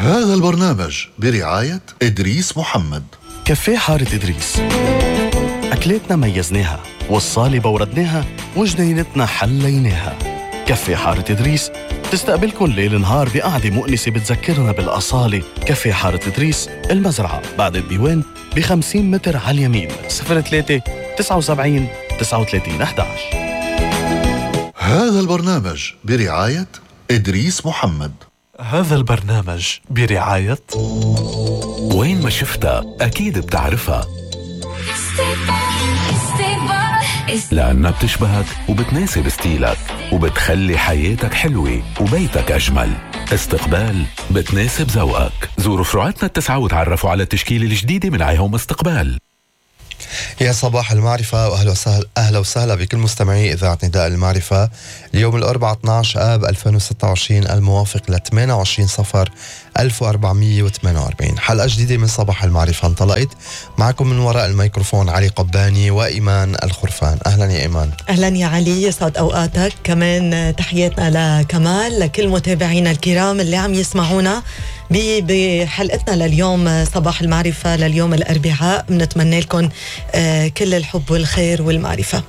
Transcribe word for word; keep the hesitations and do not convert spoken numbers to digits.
هذا البرنامج برعاية إدريس محمد. كافيه حارة إدريس، أكلاتنا ميزناها والصالة بوردناها وجنينتنا حليناها. كافيه حارة إدريس تستقبلكن ليل نهار بقعدة مؤنسة بتذكرنا بالأصالة. كافيه حارة إدريس، المزرعة بعد الديوان بخمسين متر على اليمين. صفر ثلاثة تسعة وسبعين تسعة وثلاثين أحد عشر. هذا البرنامج برعاية إدريس محمد. هذا البرنامج برعاية وين ما شفتها أكيد بتعرفها، لأنها بتشبهك وبتناسب ستيلك وبتخلي حياتك حلوة وبيتك أجمل. استقبال بتناسب ذوقك. زوروا فروعاتنا التسعة وتعرفوا على التشكيلة الجديدة من عيهم استقبال. يا صباح المعرفة وأهلا وسهلا أهلا وسهلا بكل مستمعي إذاعة نداء المعرفة. اليوم الأربعاء اثني عشر آب ألفين وستة وعشرين الموافق ل ثمانية وعشرين صفر ألف وأربعمية وثمانية وأربعين. حلقة جديدة من صباح المعرفة انطلقت. معكم من وراء الميكروفون علي قباني وإيمان الخرفان. أهلا يا إيمان. أهلا يا علي، يسعد أوقاتك. كمان تحياتنا لكمال، لكل متابعينا الكرام اللي عم يسمعونا بحلقتنا لليوم صباح المعرفة لليوم الأربعاء. بنتمنى لكم كل الحب والخير والمعرفة.